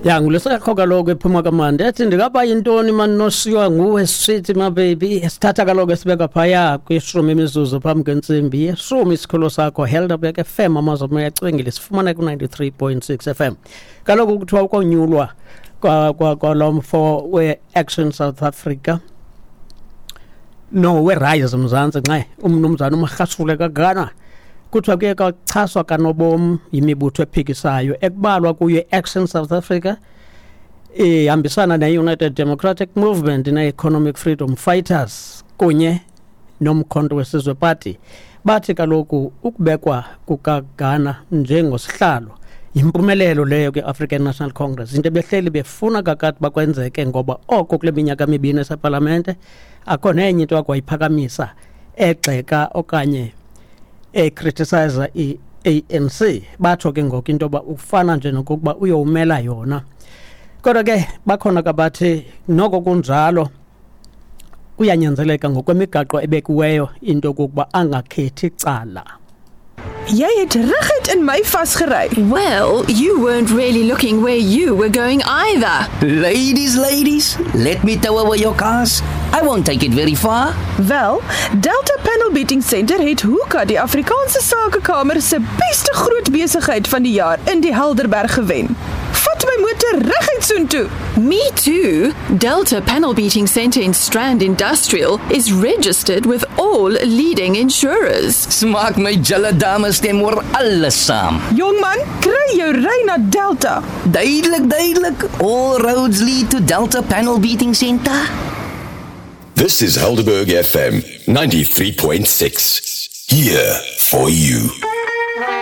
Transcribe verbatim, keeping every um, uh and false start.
Ya, ngulesekho kaloku ephuma kamandi ethi ndingaba yintoni mani nosiywa nguwe sithi mabebi. Sithatha kaloku esibeka phaya kwishumi imizuzu phambi kwentsimbi yeshumi. Isikhululo sakho Helderberg F M, amazwi amoya acwengile, sifumana ku-ninety-three point six F M. Kaloku kuthiwa ukonyulwa kwalo mfo we-Action South Africa, no, we-Rise Mzantsi, nxe, umnumzana uMagashule kaGana, kuthiwa kuye kwachaswa kanobom yimibutho ephikisayo ekubalwa kuyo i-Action South Africa ihambisana ne-United Democratic Movement ne-Economic Freedom Fighters kunye noMkhonto weSizwe Party. Bathi kaloku ukubekwa kukaGana njengosihlalo yimpumelelo leyo kwi-African National Congress, into ebehleli befuna kakade bakwenzeke, ngoba oko kule minyaka mibini esepalamente akho nenye into akwayiphakamisa egxeka okanye ecriticize i-A N C. Batsho ke ngoku into yoba ufana nje nokokuba uyowumela yona. Kodwa ke bakhona kabathi noko kunjalo kuyanyanzeleka ngokwemigaqo ebekiweyo into yokokuba angakhethi cala. Jy het reguit in my vasgery. Well, you weren't really looking where you were going either. Ladies, ladies, let me tow away your cars. I won't take it very far. Wel, Delta Panel Beating Center het Hoeka die Afrikaanse Sakekamer se beste groot besigheid van die jaar in die Helderberg gewen. Vat my motor reguit soontoe. Me too. Delta Panel Beating Center in Strand Industrial is registered with all leading insurers. Smaak my julle dames stem oor alles saam. Jong man, kry jou ry na Delta. Duidelik, duidelik. All roads lead to Delta Panel Beating Center. This is Helderberg F M ninety-three point six. Here for you.